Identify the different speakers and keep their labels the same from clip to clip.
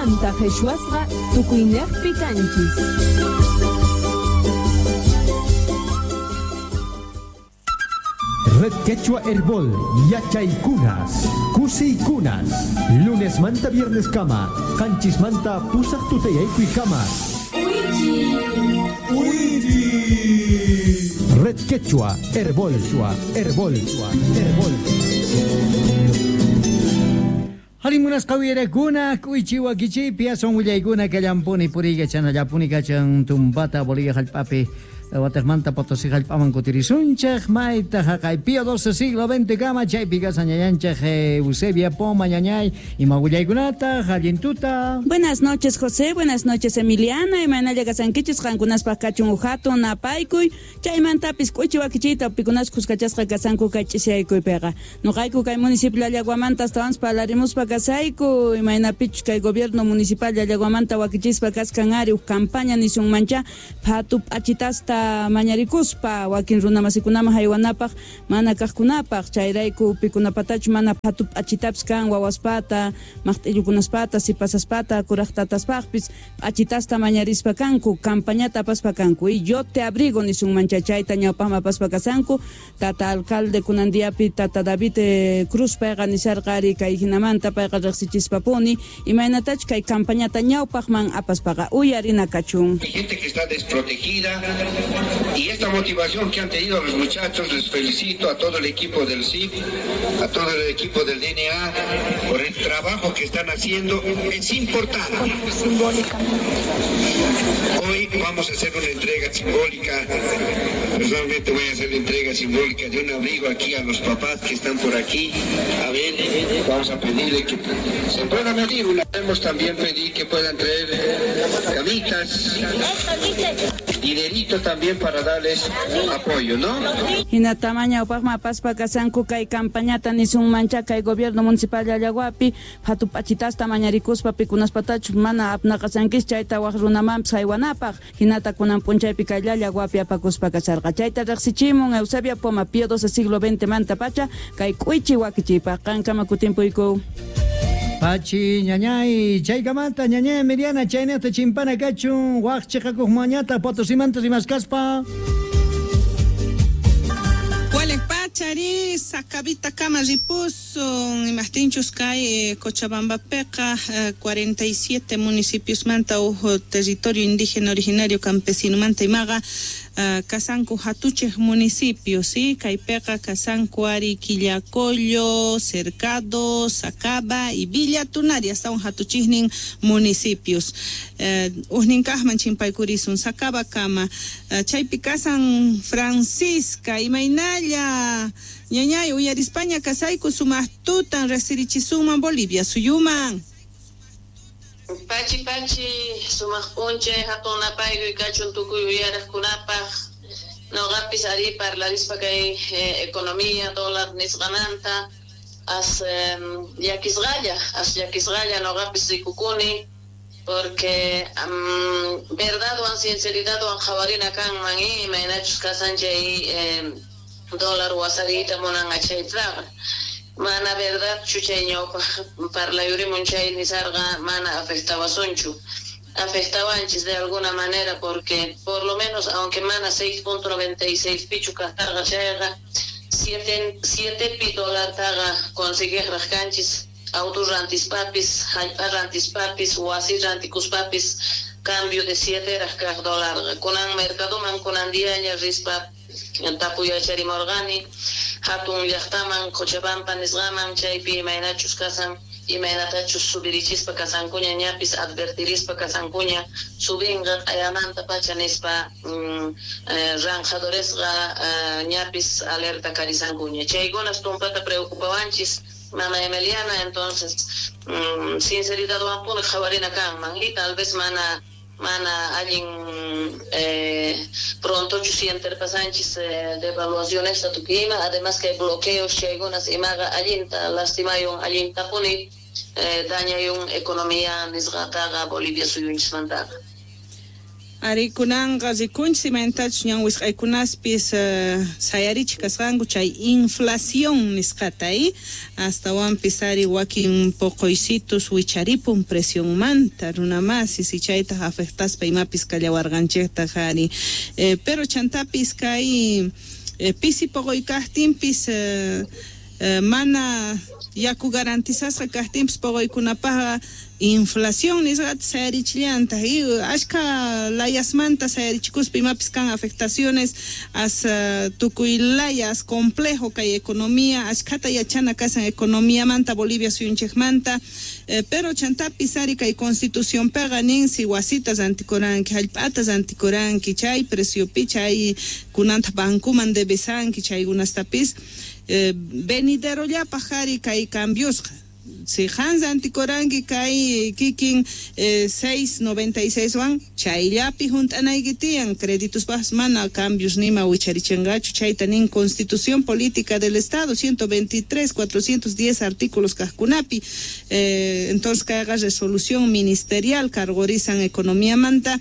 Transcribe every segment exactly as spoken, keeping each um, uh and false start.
Speaker 1: Qanmanta qhichwasqa tukuyniqpi kanchis.
Speaker 2: Red Quechua Herbol, Yachaykunas, Kusiykunas, lunes manta viernes kama, qanchis manta pusaq tutayaykuy kama. Red Quechua Herbol, Herbol, Herbol.
Speaker 3: Harimunas qawirakuna k'uychi wakichiypi asun willaykuna kallampuni puriyka chanallapuni kachan tumpata Bolivia hallp'api wataqmanta Potosí hallp'aman kutirisunchik mayta haqay Pío doce siglo veinte kama chaypi kasan ñañanchik Eusebia Poma ñañay ima willaykunata allintuta.
Speaker 4: Buenas noches, José, buenas noches, Emiliana, imaynalla kasankichis qankunaspaq kachun uhatun napaykuy chaymantapis k'uychi wakichiyta pikunas kuskachasqa kasanku kay ch'isiyaykuypiqa nuqayku kay municipio Llallaguamanta astawanpas parlarimuspa kasayku imaynapichus kay gobierno municipal Llallaguamanta wakichispa kaskan ari uj campaña nisunmancha phatu p'achitasta mañarikuspa wakin runamasikunaman haywanapaq mana kaqkunapaq chayrayku pikunapatachu mana phatu p'achitapis kan wawaspata maqt'illukunaspata sipasaspata kuraqtataspaqpis p'achitasta mañarispa kanku campañata apaspa kanku y yo te abrigo nisunmancha chayta ñawpaqman apaspa kasanku tata alcalde kunan diapi tata David eh, Cruz payqa nisarqa ari kay hinamanta payqa riqsichispapuni imaynatachu kay campañata ñawpaqman apaspaqa uyarina kachun.
Speaker 5: Hay gente que está desprotegida y esta motivación que han tenido los muchachos, les felicito a todo el equipo del C I F, a todo el equipo del D N A por el trabajo que están haciendo, es importante. Hoy vamos a hacer una entrega simbólica, personalmente voy a hacer la entrega simbólica de un abrigo aquí a los papás que están por aquí. A ver, vamos a pedirle que se pueda medir una. Podemos también pedir que puedan traer camitas, dinerito también para darles apoyo, ¿no?
Speaker 4: Hinatamaña upaqma apaspa kasanku kay campañata nisunmancha kay gobierno municipal Llallaguapi phatu p'achitasta mañarikuspa pikunaspatachu mana apnaqasankis chayta waq runamanpis haywanapaq hinata kunan p'unchaypi kay Llallaguapi apakuspa kasarqa chayta riqsichimun Eusebia Poma Pío doce siglo veinte manta pacha kay k'uychi wakichiypaq qankama kutimpuyku.
Speaker 3: Pachi ñañay chaykamanta ñañay Emiliana chaynata chimpana kachun waq chiqakuq mañata Potosimanta rimaskaspa.
Speaker 6: Pachari Sacabita kama ripusun imaqtinchus kay eh, Cochabambapiqa eh, cuarenta y siete municipios manta uj territorio indígena originario campesino manta imaqa uh, kasanku hatuchej municipios, ¿sí? Kaypiqa kasanku ari Quillacollo, Cercado, Sacaba y Villa Tunari hasta un hatuchijnin municipios. Uh, ujnin kaqman chimpaykurisun Sacaba kama uh, chaypi kasan Francisca imaynalla ñañay uyarispaña kasayku sumaq tutan riqsirichisuman Bolivia suyuman.
Speaker 7: Pachi pachi sumaq p'unchay hatun napaykuy kachun tukuy uyaraqkunapaq noqapis ari parlarispa kay eh, economía dólar nisqamanta as eh, llakisqalla as llakisqalla noqapis rikukuni porque um, verdadwan sinceridadwan qhawarina kanman imaynachus kasan chay eh, dólar wasariyta munan achaytaqa mana verdad chuchay ñawpaq parlayurimun chay nisarqa mana afectawasunchu afectawanchis de alguna manera porque por lo menos aunque mana seis punto noventa y seis pichu kasarqa chayqa siete, siete pi dólar taqa consiguiqraq kanchis auto rantispapis hallp'a rantispapis wasi rantikuspapis cambio de siete raq kaq dólar kunan mercadoman kunan diaña rispa tapuyacharimurqani hatun llaqtaman Cochabamba nisqaman chaypi imaynachus kasan imaynatachus subirichispa kasankuña ñapis advertirispa kasankuña subinqa q'ayamanta pacha nispa mm, eh, ranjadoresqa eh, ñapis alerta karisankuña chaykunas tumpata preocupawanchis mama Emiliana entonces mm, sinceridadwanpuni qhawarina kanman y tal vez mana mana allin eh, prontochu sienterpasanchis eh, devaluaciones tukima además que bloqueos chaykunas imaqa allinta lastimayun allintapuni eh, dañayun economía nisqataqa Bolivia suyunchismantaqa.
Speaker 6: Ari kunanqa rikunchis imaynatachus ñan wisq'aykunaspis uh, sayarichik kasqanku chay inflación nisqata y astawanpis ari wakin poqoysitus wicharipun presionmanta runamasis y chaytaq afectaspa imapis kallawarqanchiktaq ari eh, pero chantapis kay eh, pisi poqoy kaqtinpis eh, eh, mana yaku garantizasqa kaqtinpis poqoykunapaqqa inflación nisqata sayarichillantaq y ashka layasmanta sayarichikuspa imapis kan afectaciones as uh, tukuy layas complejo kay economía ashkata yachana kasan economiamanta Bolivia suyunchikmanta eh, pero chantapis ari kay constitución peqa nin si wasitas antikuranki hallp'atas antikuranki chay preciopi chay kunanta bankuman debesanki chaykunastapis eh, veniderollapaq ari kay cambiosqa si Hans antikoranki kay kikin eh, seis noventa y seis wan chayllapi hunt'anayki tiyan créditos mana cambios nima wicharichinqachu chayta nin Constitución Política del Estado ciento veintitrés, cuatrocientos diez artículos kaqkunapi eh, entonces kayqa resolución ministerial cargorizan economía manta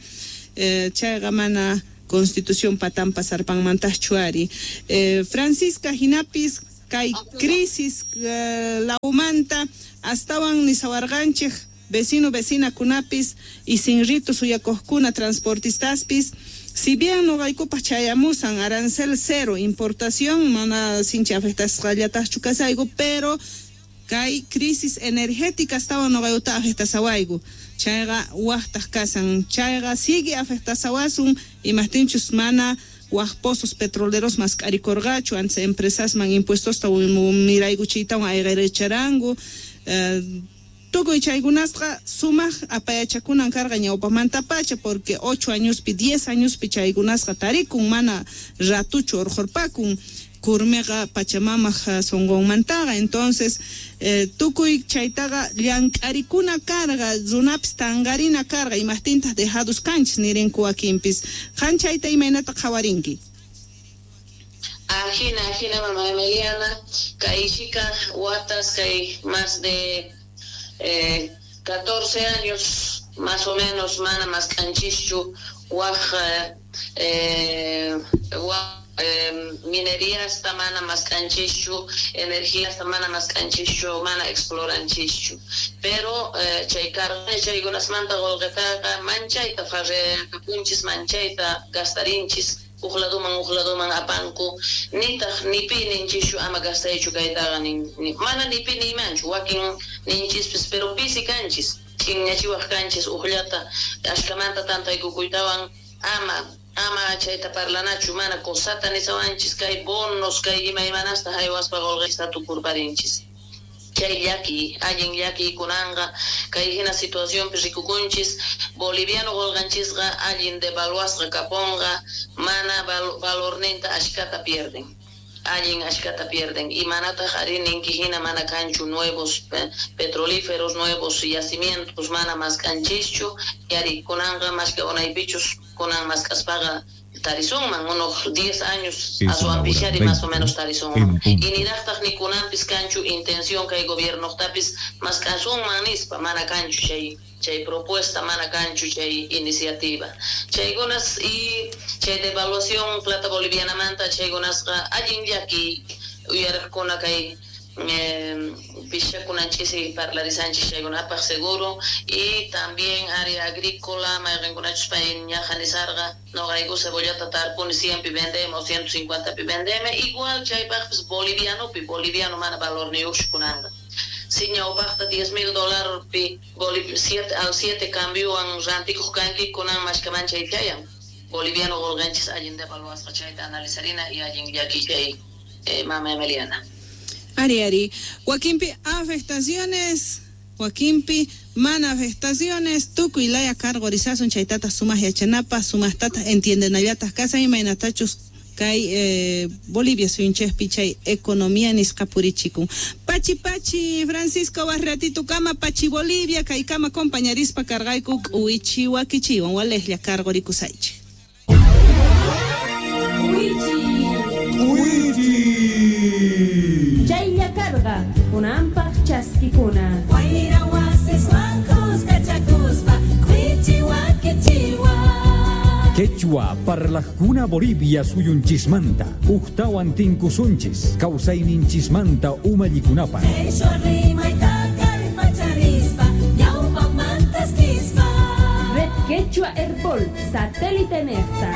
Speaker 6: eh, chayqa mana Constitución patampa sarpanmantaqchu ari eh, Francisca hinapis kay crisis uh, laumanta astawan nisawarqanchik vecino vecina kunapis y sin rito suyakuqkuna transportistaspis si bien noqaykupaq chayamusan arancel cero importación mana sinchi afectasqallataqchu kasayku pero kay crisis energética astawan noqaykuta afectasawayku chayqa waqtaq kasan chayqa sigue afectasawasun imaqtinchus mana waq pozos petroleros mask'arikurqachu antes empresasman impuestosta miraykuchiytawan ayqiricharanku eh, tukuy chaykunasqa sumaq apayachakunan karqa ñawpaqmantapacha porque ocho añospi diez añospi chaykunasqa tarikun mana ratuchu urqurpakun kurmiqa pachamamaq sunqunmantaqa entonces eh, tukuy chaytaqa llank'arikuna karqa runapis tanqarina karqa imaqtintaq dejados kanchis nirinku wakinpis qan chayta imaynata qhawarinki
Speaker 7: Ajina, ajina, mamá Emiliana, kay shika watas kay más de eh, catorce años más o menos mana más kanchischu waj eh, waj Eh, minería hasta mana más kanchischu, energía hasta mana más kanchischu, mana exploranchischu. Pero eh, chay carga, chaykunasmanta qullqitaqa manchayta farrekapunchis, manchayta gastarinchis, uqladuman uqladuman apanku, nitaq nipi ninchischu ama gastaychu kaytaqa nin, ni, mana nipi niymanchu, wakin ninchispis, pero pisi kanchis, ch'inñachiwaq kanchis uqllata ashkamanta tantaykukuytawan ama ama chayta parlanachu mana cosata nisawanchis kay bonos kay imaymanasta haywaspa qullqista tukurparinchis chay llaki allin llaki kunanqa kay hina situacionpi rikukunchis boliviano qullqanchisqa allin devaluasqa kapunqa mana val valorninta ashkata pierden allin ashkata pierden y manataq ari ninki hina mana kanchu nuevos eh, petrolíferos nuevos yacimientos mana maskanchischu yari kunanqa mashka unaypichus kunan maskaspaqa tarisunman unos diez años aswanpishari más o menos tarisunman y niraqtaq ni kunanpis kanchu intención kay gobiernoqtapis maskasunman nispa mana kanchu chay chay propuesta mana kanchu chay iniciativa chaykunas y chay devaluación plata bolivianamanta chaykunasqa allin llaki uyariqkuna kay eh, pishakunanchis parlarisanchis chaykunapaq seguro y también área agrícola mayqinkunachus pay ñaqa nisarqa noqayku cebollata tarpuni cien pi vendemos ciento cincuenta pi vendeme igual chaypaqpis bolivianopi boliviano mana valorniyuqchu kunanqa si ñawpaqta diez mil dólar pi siete al siete cambiowan rantikuq kanki kunan mashkaman chay chayan boliviano qullqanchis allin devaluasqa chayta analizarina y allin llaki chay eh, mama Emiliana.
Speaker 6: Ari, ari. Wakinpi afectaciones, wakinpi mana afectaciones, tukuy laya cargorizasun chaytata sumaq yachanapaq, sumaqtata entiendenallataq kasan imaynatachus kay eh, Bolivia suyunchikpi chay economía nisqa purichikun. Pachi pachi Francisco waq kama pachi Bolivia kay kama compañarispa cargayku k'uwichi wakichiwan walejlla cargorikusaychik.
Speaker 2: K'uwichi.
Speaker 1: Chaylla karqa kunanpaq chaskikuna.
Speaker 8: Wayra wasis wankus kachakuspa k'uwichi wakichiwan.
Speaker 2: Quechua parlaqkuna Bolivia suyunchismanta Uktawan tinkusunchis kawsayninchismanta umallikunapaq.
Speaker 1: Red Quechua Herbol, satélite nefta.